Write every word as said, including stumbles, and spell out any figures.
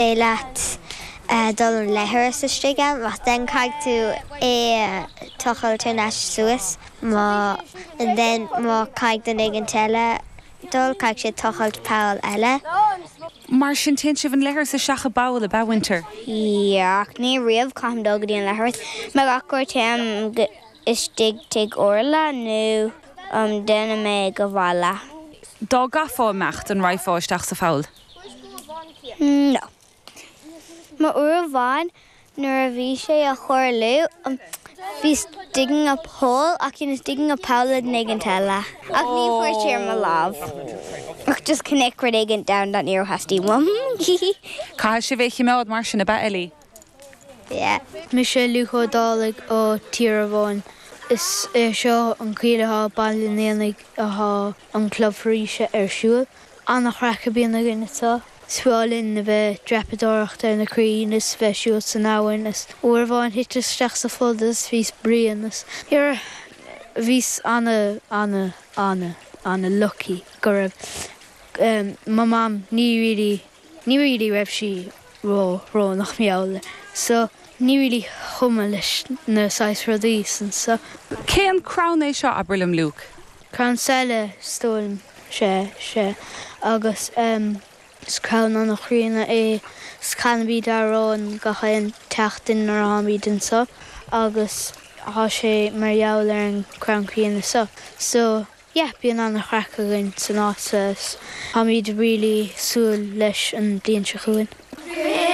Leat dul an leithreas istigh ann, ach then caithfidh tú é tochailt ná suas má then má caithfidh duine éigin eile dul caithfidh sé tochailt poll eile. Mar sin téann sibh an leithreas isteach i bpoll ab ea Winter. Yeah, ní riamh caithim dul go dtí an leithreas, me gach uair téim istigh tigh Orla nó um, déanfaidh mé go bhaile. Dá gcaithfeá imeacht an rachfá isteach sa pholl. No. Ma uair amháin nuair a bhí sé a chóirlú um, bhí digging a hole ach he was digging a poll le duine éigin eile. Ach ní fuair sé ar mo lámh. Ach just connect rud éigin down that níor theastaigh uaim. Caithfidh sibh é choimeád mar sin ab ea Ellie. Yeah. Mise Luke Ó Dálaigh ó Tíormháin. Is é seo an chaoi Baile an Éanaigh atá an club foraoise ar siúl. An-chraic a bhíonn againn anseo. Is breá linn a bheith dreapadóireacht ar na crainn is bheith siúl san abhainn is uair amháin thit isteach sa pholl is bhíos bréan is ar bhíos ana ana ana ana lucky go raibh um, my mam ní really ní really raibh sí ró ró nach meall so ní really chuma leis na saghas rudaí san so Cén crann é seo abair liom Luke? Crann saile stól sé sé agus um, is crann an-chríonna é canbí arán gach aon tseachtain nuair atháimid anseo agus tá sé mar gheall ar an crann críonna seo. So yeah, bíonn an-chraic againn san áit táimid really súil leis an bliain seo chugainn.